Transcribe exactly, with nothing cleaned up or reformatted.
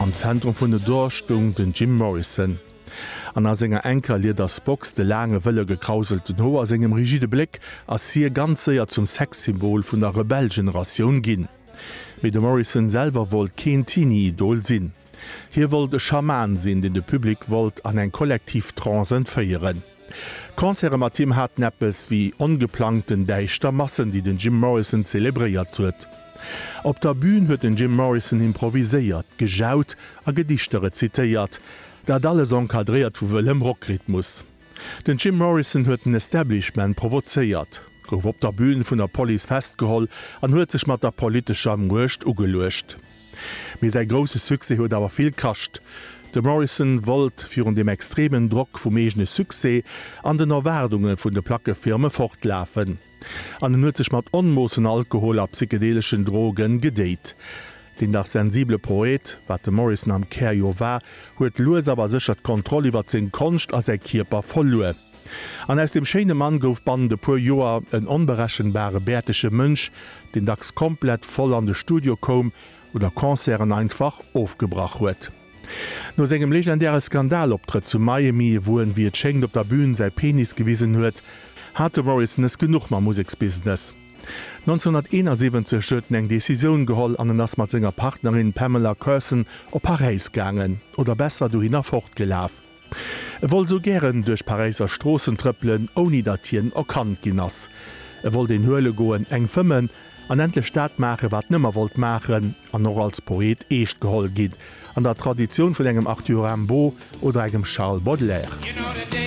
Am Zentrum vun The Doors stoung den Jim Morrison. An a senger enker Liedersbox, de laange wëlle gekrauselten Hoer, sengem rigide Bléck ass hie ganz séier zum Sexsymbol vun der Rebell-Generatioun ginn. Mee de Morrison selwer wollt keen Teenie-Idol sinn. Hie wollt e Schaman sinn, deen de Public wollt an eng kollektiv Trance entféieren. Concerte mat him haten eppes wéi ongeplangten däischter Massen, déi den Jim Morrison zelebréiert huet. Op der Bün huet den Jim Morrison improviséiert, gejaut a Gedichter rezitéiert, dat alles encadréiert vu wëllem Rockrhythmus. Den Jim Morrison huet den Establishment provozéiert, gouf op der Bün vun der Police festgeholl an huet sech mat der politescher Muecht ugeluecht. Mee säi grousse Succès huet awer vill kascht. De Morrison wollt virun dem extremen Drock vum eegene Succès an den Erwaardunge vun de Plackefirme fortlafen. An en huet sech mat Onmoossen Alkohol a psychedeleschen Drogen gedéit. Den dach sensibele Poet, wat de Morrison am Kär jo war, huet lues awer sécher d'Kontroll iwwer seng Konscht a säi Kierper verluer. An aus dem schéine Mann gouf bannent e puer Joer en onberechenbare bäertege Mënsch, deen dacks komplett voll an de Studio koum oder Concerten einfach ofgebrach huet. No sengem legendäre Skandaloptrëtt zu Miami, wou en, wéi et schéngt, op der Bün säi Penis gewisen huet, hat de Morrison es genuch mam Museksbusiness. nonzénhunnerteenasiwwenzeg huet en eng Decisioun geholl an en ass mat senger Partnerin Pamela Courson op Paräis gaangen, oder besser, dohinner fortgelaf. E wollt sou gären duerch Paräisser Stroossen trëppelen, ouni datt hien erkannt ginn ass. E wollt een huele goen, eng fëmmen an endlech dat maachen, wat en ëmmer wollt maachen, an och als Poet eescht geholl ginn, an der Traditioun vun engem Arthur Rimbaud oder engem Charles Baudelaire.